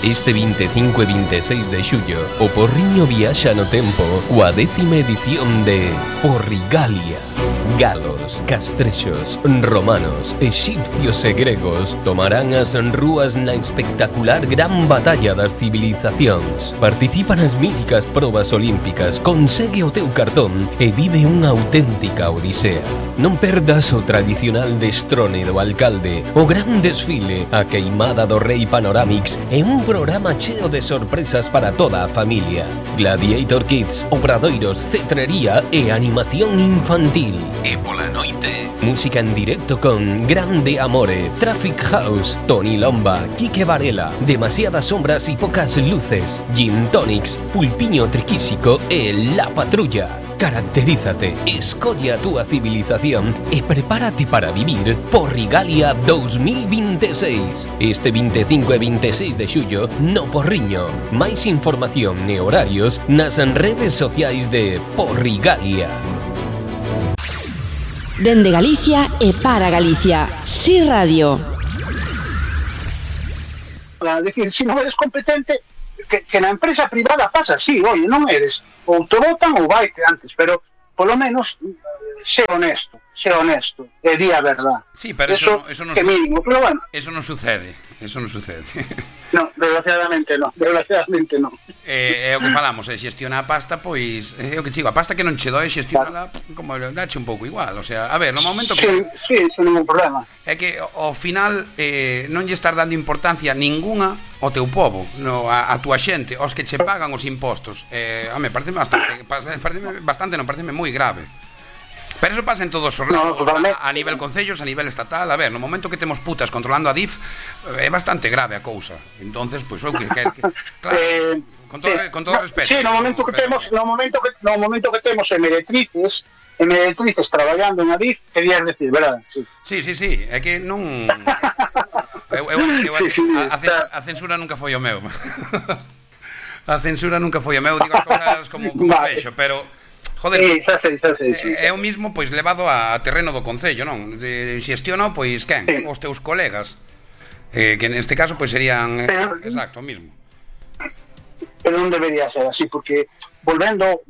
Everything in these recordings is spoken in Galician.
Este 25 e 26 de xullo, o Porriño viaxa no tempo coa 10ª edición de Porrigalia. Galos, castrexos, romanos, exipcios e gregos tomarán as rúas na espectacular gran batalla das civilizacións. Participa nas míticas probas olímpicas, consegue o teu cartón e vive unha auténtica odisea. Non perdas o tradicional destrone do alcalde, o gran desfile, a queimada do rei Panoramix e un programa cheo de sorpresas para toda a familia. Gladiator Kids, obradoiros, cetrería e animación infantil. E pola noite, música en directo con Grande Amore, Traffic House, Tony Lomba, Quique Varela, Demasiadas sombras y pocas luces, Gin Tonics, Pulpiño Triquísico e La Patrulla. Caracterízate, escolle a túa civilización e prepárate para vivir Porrigalia 2026. Este 25 e 26 de xullo no Porriño. Máis información e horarios nas redes sociais de Porrigalia. Dende Galicia e para Galicia. Si Radio. A decir, se non eres competente, que na empresa privada pasa así, oye, non eres, ou te votan ou vaite antes, pero polo menos sé honesto, e di a verdad. Sí, pero eso non que mínimo, pero bueno. Eso non sucede. No, desgraciadamente non. É o que falamos, xestiona a pasta, pois é o que chigo, a pasta que non che doi xestionala como dache un pouco igual, o sea, a ver, no momento que sí, sen ningún problema. É que ao final non lle estás dando importancia ninguna ao teu pobo, a túa xente, aos que che pagan os impostos. Home, pareceme moi grave. Pero eso pasa en todos os lados, a nivel concellos, a nivel estatal. A ver, no momento que temos putas controlando a DIF, é bastante grave a cousa. Entonces, pois, claro, con todo respeto. Sí, no momento que temos e meretrices traballando na DIF, querías decir, verdad? Sí, é que non... A censura nunca foi o meu. Digo as cousas como vexo, pero... Joder, xa sei. É o mismo, pois, levado a terreno do concello, non? Xestiona, pois, quen? Sí. Os teus colegas, que neste caso, pois, serían... exacto, o mismo. Pero non debería ser así, porque volvendo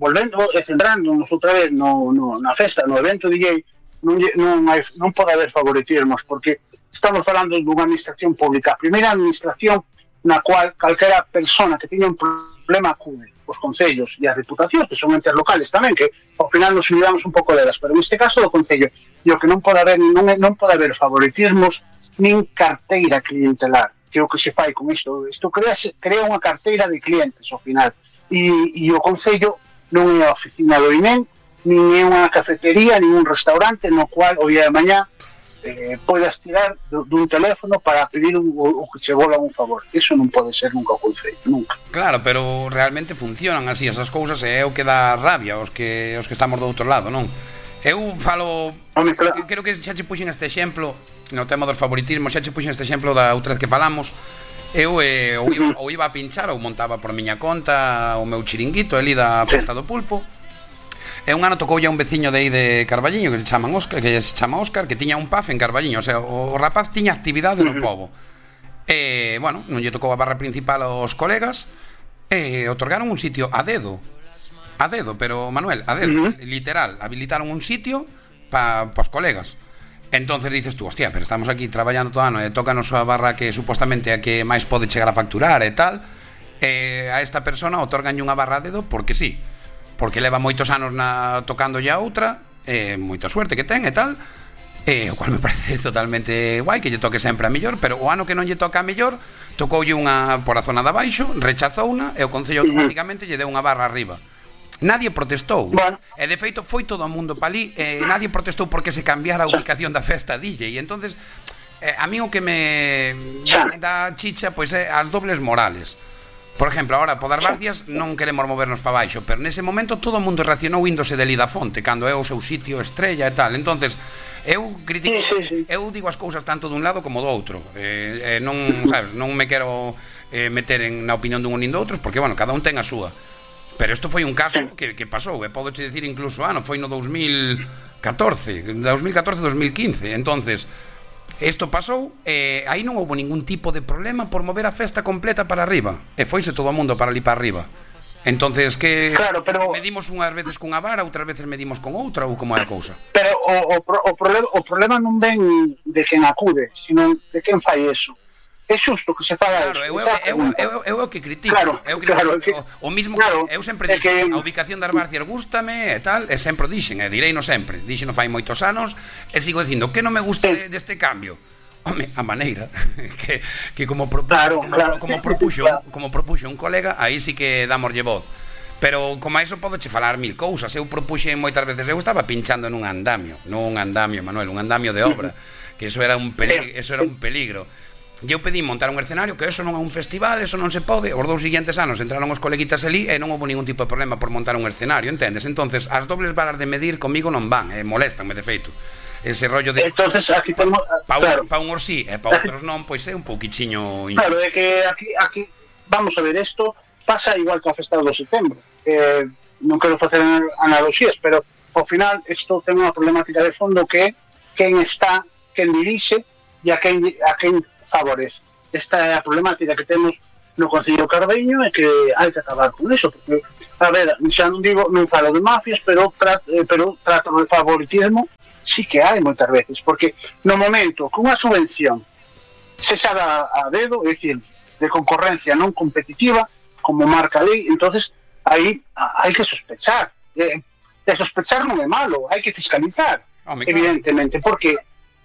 e centrándonos outra vez na festa, no evento DJ, non pode haber favoritismos, porque estamos falando dunha administración pública, a primeira administración na cual calquera persona que teña un problema acude os concellos e as reputacións, que son entes locales tamén, que ao final nos olvidamos un pouco delas, pero neste caso do concello, e o que non pode haber favoritismos nin carteira clientelar, que é o que se fai con isto crea unha carteira de clientes ao final, e o concello non é a oficina do INEM, nin é unha cafetería, nin un restaurante no cual o día de mañá podes tirar dun teléfono para pedir o que se vola un favor. Eso non pode ser nunca o concello, nunca. Claro, pero realmente funcionan así esas cousas, e é o que dá rabia aos que estamos do outro lado, non? Eu falo, creo que xa che puxen este exemplo no tema dos favoritismos, xa che puxen este exemplo da outra vez que falamos. Eu ou iba a pinchar ou montaba por miña conta o meu chiringuito ali da Festa do Pulpo. E un ano tocoulle a un veciño de aí de Carballiño que se chama Óscar, que tiña un pub en Carballiño, o sea, o rapaz tiña actividade no pobo. E, bueno, non lle tocou a barra principal aos colegas e otorgaron un sitio a dedo, pero, Manuel, a dedo, literal, habilitaron un sitio para os colegas. Entonces dices tú, hostia, pero estamos aquí traballando todo ano e tócanos a barra que supostamente a que máis pode chegar a facturar e tal, e a esta persona otorganlle unha barra a dedo porque sí, porque leva moitos anos tocando ya outra, moita suerte que ten e tal, o cual me parece totalmente guai que lle toque sempre a mellor, pero o ano que non lle toca a mellor, tocoulle unha por a zona de abaixo, rechazouna e o concello automáticamente lle deu unha barra arriba. Nadie protestou, e de feito foi todo o mundo palí, nadie protestou porque se cambiara a ubicación da festa DJ, e entonces a mí o que me dá chicha pois é as dobles morales. Por exemplo, agora, por das Barcias non queremos movernos para baixo, pero nese momento todo o mundo reaccionou índose de Lidafonte, cando é o seu sitio estrella e tal. Entonces, eu critico, eu digo as cousas tanto dun lado como do outro. Non, sabes, non me quero meter na opinión dun nin do outro, porque, bueno, cada un ten a súa. Pero isto foi un caso que pasou, e podo dicir incluso, foi no 2014, 2015. Entonces, Isto pasou, aí non houve ningún tipo de problema por mover a festa completa para arriba. E foise todo o mundo para ali para arriba. Entonces, que claro, pero medimos unhas veces cunha vara, outras veces medimos con outra, ou como é a cousa? Pero o problema non ven de quen acude, sino de quen fai eso. É xusto que se faga claro, eso. Eu o que critico. Claro, o mismo claro, que eu sempre dixen, a ubicación das Barcias gústame e tal, e sempre dixen, e direino sempre. Dixen fai moitos anos, e sigo dicindo, que non me gusta deste cambio? Home, a maneira que como propuxo un colega, aí sí que damoslle voz. Pero como a iso podo che falar mil cousas. Eu propuxen moitas veces, eu estaba pinchando nun andamio, Manuel, un andamio de obra, que eso era un peligro. E eu pedí montar un escenario, que eso non é un festival, eso non se pode. Os 2 seguintes anos entraron os coleguitas ali e non houve ningún tipo de problema por montar un escenario, entendes? Entonces, as dobles varas de medir comigo non van, molestanme de feito. Ese rollo de entonces aquí temos pa un sí e pa outros non, pois é un pouquichiño. Claro, é que aquí vamos a ver, isto pasa igual que a festa do setembro. Non quero facer analogías, pero ao final isto ten unha problemática de fondo que é quen dirixe e a quen favorece. Esta é a problemática que temos no Concello Cardeño e que hai que acabar con iso, porque a ver, xa non falo de mafias, pero trato de favoritismo sí que hai moitas veces, porque no momento que unha subvención se xa dá a dedo, é dicir, de concorrencia non competitiva, como marca a lei, entonces aí hai que sospechar. De sospechar non é malo, hai que fiscalizar, evidentemente, porque,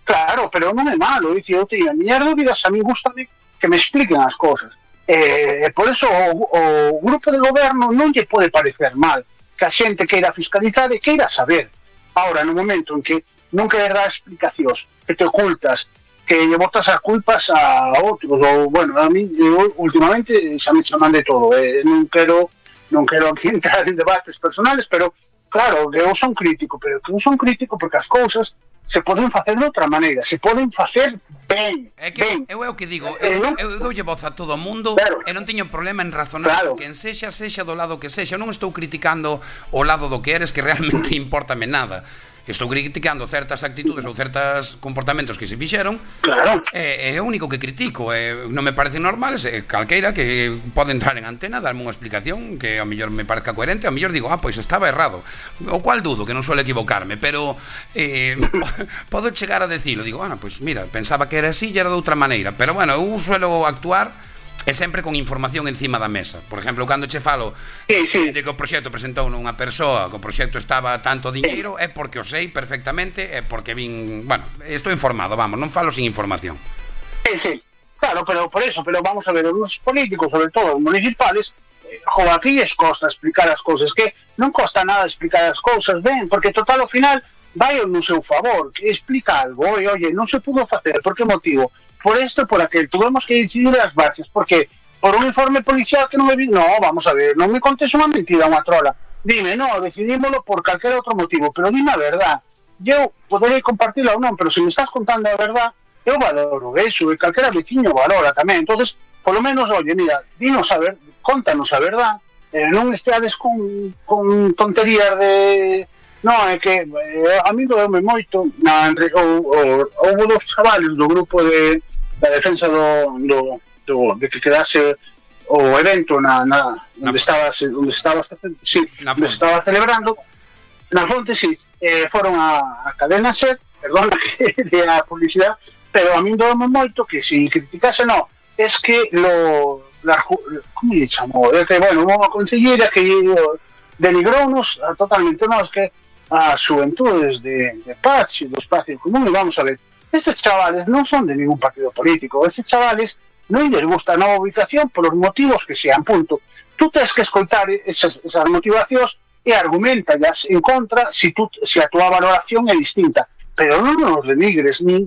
claro, pero non é malo, é dicir, eu teño a miñas dúbidas, a mí gustame que me expliquen as cosas. Por eso o grupo de goberno non lle pode parecer mal que a xente queira fiscalizar e queira saber. Ahora, no momento en que non queres dar explicacións, que te ocultas, que lle botas as culpas a outros, ou, bueno, a mí, últimamente, xa me chaman de todo, non quero aquí entrar en debates personales, pero, claro, eu son crítico, pero eu son crítico porque as cousas se poden facer de outra maneira, se poden facer ben. Eu é o que digo, eu doulle voz a todo o mundo, claro, e non teño problema en razonar, claro, que en sexa do lado que sexa. Eu non estou criticando o lado do que eres, que realmente importame nada. Estou criticando certas actitudes ou certos comportamentos que se fixeron, claro, é o único que critico. Non me parecen normales, calqueira que pode entrar en antena, darme unha explicación que ao mellor me parezca coherente, ao mellor digo, pois estaba errado, o cual dudo, que non suele equivocarme, pero podo chegar a decirlo, digo, pois mira, pensaba que era así e era de outra maneira, pero bueno, eu suelo actuar e sempre con información encima da mesa. Por exemplo, cando che falo de que o proxecto presentou unha persoa, que o proxecto estaba tanto diñeiro, é porque o sei perfectamente, é porque vin, bueno, estou informado, vamos, non falo sin información. Sí, claro, pero por eso, pero vamos a ver, os políticos, sobre todo os municipales, aquí es costa explicar as cousas, que non costa nada explicar as cousas ben, porque total ao final vai no seu favor, que explica algo, oye, non se pudo facer, por que motivo? Por esto, por aquel, tuvimos que decidir as bases, porque por un informe policial que non me vi, no, vamos a ver, non me contes unha mentira, unha trola, dime, no, decidímoslo por calquera outro motivo, pero dime a verdad, eu poderei compartirla ou non, pero se me estás contando a verdad, eu valoro eso, e calquera veciño valora tamén, entonces, por lo menos, oye, mira, dinos a ver, contanos a verdad, non esteades con tonterías de... No, é que a mí doeume moito, houve 2 chavales do grupo de defensa de que quedase o evento onde estaba celebrando na fonte, foron a cadena SER, perdona que de a publicidade, pero a mí doeume moito que se criticase, no, es que como lle chamou? É que, bueno, unha consellera que denigrounos totalmente, no, es que as xuventudes de Paz e do espacio común, e vamos a ver, estes chavales non son de ningún partido político, estes chavales non lles gusta a nova ubicación por os motivos que sean, punto. Tú tens que escoitar esas motivacións e argumentallas en contra se a túa valoración é distinta, pero non nos denigres, nin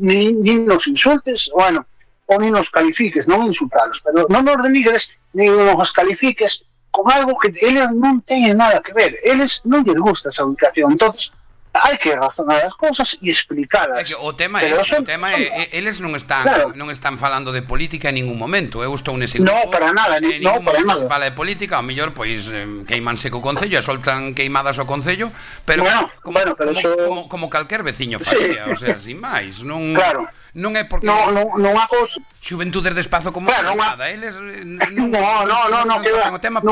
nos insultes, bueno, ou nin nos califiques, non insultalos, pero non nos denigres, nin nos califiques con algo que eles non teñen nada que ver, eles non lles gusta esa ubicación, entonces hai que razonar as cousas e explicalas. O tema é, eles non están falando de política en ningún momento. Eu estou nese grupo. No, para nada, no, para nada. Se fala de política, ao mellor pois queimanse co concello e soltan queimadas ao concello, pero como calquer veciño faría, o sea, sin máis, non. Claro. Non é porque non a cousa Xuventudes de Espazo como claro, nada, eles non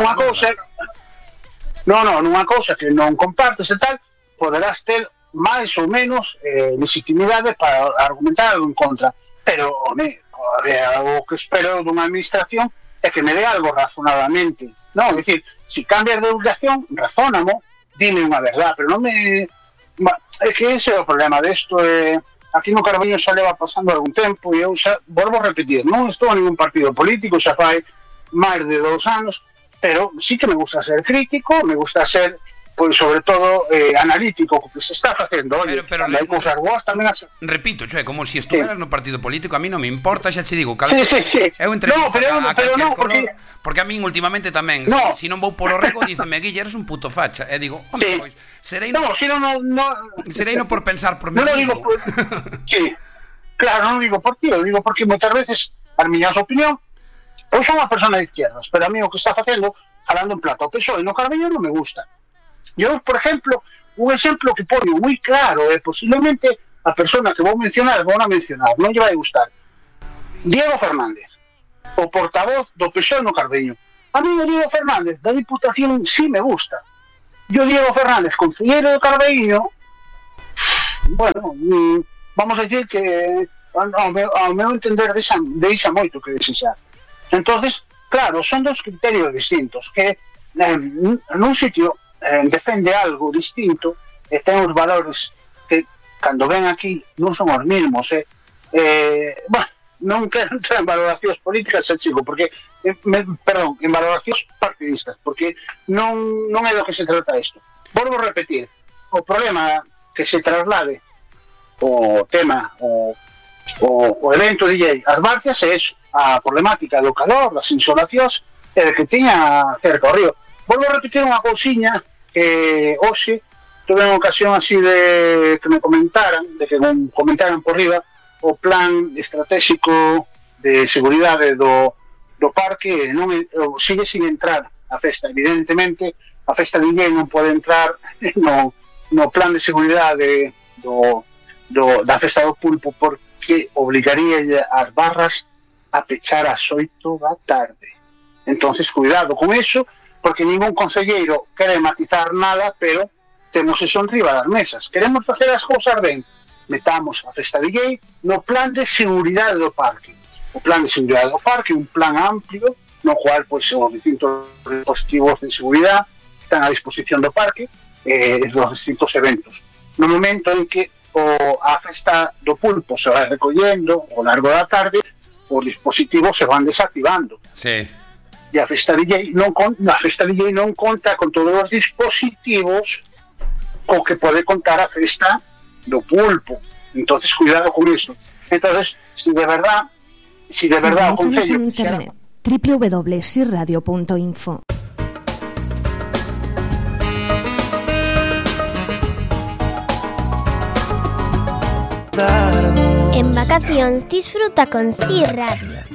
a cousa nunha cousa que non compartes e tal, poderás ter máis ou menos legitimidade para argumentar algo en contra, pero o que espero dunha administración é que me dé algo razonadamente, non, é dicir, se cambias de educación, razónamo, dime unha verdade, pero non me... É que ese é o problema desto, aquí no Carballiño xa leva pasando algún tempo e eu xa, volvo a repetir, non estou en ningún partido político, xa fai máis de 2 anos, pero sí que me gusta ser crítico, me gusta ser, pois, sobre todo, analítico, que se está facendo. Oye, pero hai cousas boas tamén as... Repito, é como se estuveras no partido político, a mí non me importa, xa che digo, sí. Eu entrevisto a calquer porque... color, porque a min últimamente tamén, se non vou polo rego, díceme, Guille, eres un puto facha, e digo, home, pois, serei no por pensar por mí mismo. Sí, claro, non digo por ti, eu digo porque moitas veces, as miñas opinión, eu sou unha persona de izquierdas, pero a mí o que está facendo, falando en plata, o PSOE no Carballiño non me gusta. Eu, por exemplo, un exemplo que poño moi claro, posiblemente a persona que vou mencionar, non lle vai gustar. Diego Fernández, o portavoz do PSOE no Carballiño. A mí o Diego Fernández da Diputación sí me gusta. Yo Diego Fernández, concelleiro do Carballiño, bueno, vamos a decir que ao meu entender deixa moito que desexar. Entonces, claro, son dos criterios distintos, que nun sitio defende algo distinto e ten os valores que cando ven aquí non son os mismos. Bueno, non quero entrar en valoracións políticas, chico, porque, perdón, en valoracións partidistas, porque non é do que se trata isto. Volvo a repetir, o problema que se traslade o tema, o evento DJ As Barcias é eso, a problemática do calor, das insolacións e de que tiña cerca o río. Volvo a repetir unha cousiña que hoxe tuve unha ocasión así de que me comentaran, por riba o plan estratégico de seguridade do parque, non sigue sin entrar a festa. Evidentemente, a festa DJ non pode entrar no plan de seguridade da festa do pulpo, porque obligaría as barras a pechar ás 8 da tarde. Entonces, cuidado con eso, porque ningún concelleiro quere matizar nada, pero temos eso enriba das mesas. Queremos facer as cousas ben, metamos a festa DJ no plan de seguridade do parque. O plan de seguridade do parque é un plan amplio, no cual pois, os distintos dispositivos de seguridade están a disposición do parque dos distintos eventos. No momento en que a festa do pulpo se vai recollendo ao largo da tarde, os dispositivos se van desactivando. Sí. E a festa DJ non conta con todos os dispositivos co que pode contar a festa do pulpo. Entonces, cuidado con isto. Entonces, si de verdad o Concello en internet, www.sirradio.info. En vacacións disfruta con Sir Radio.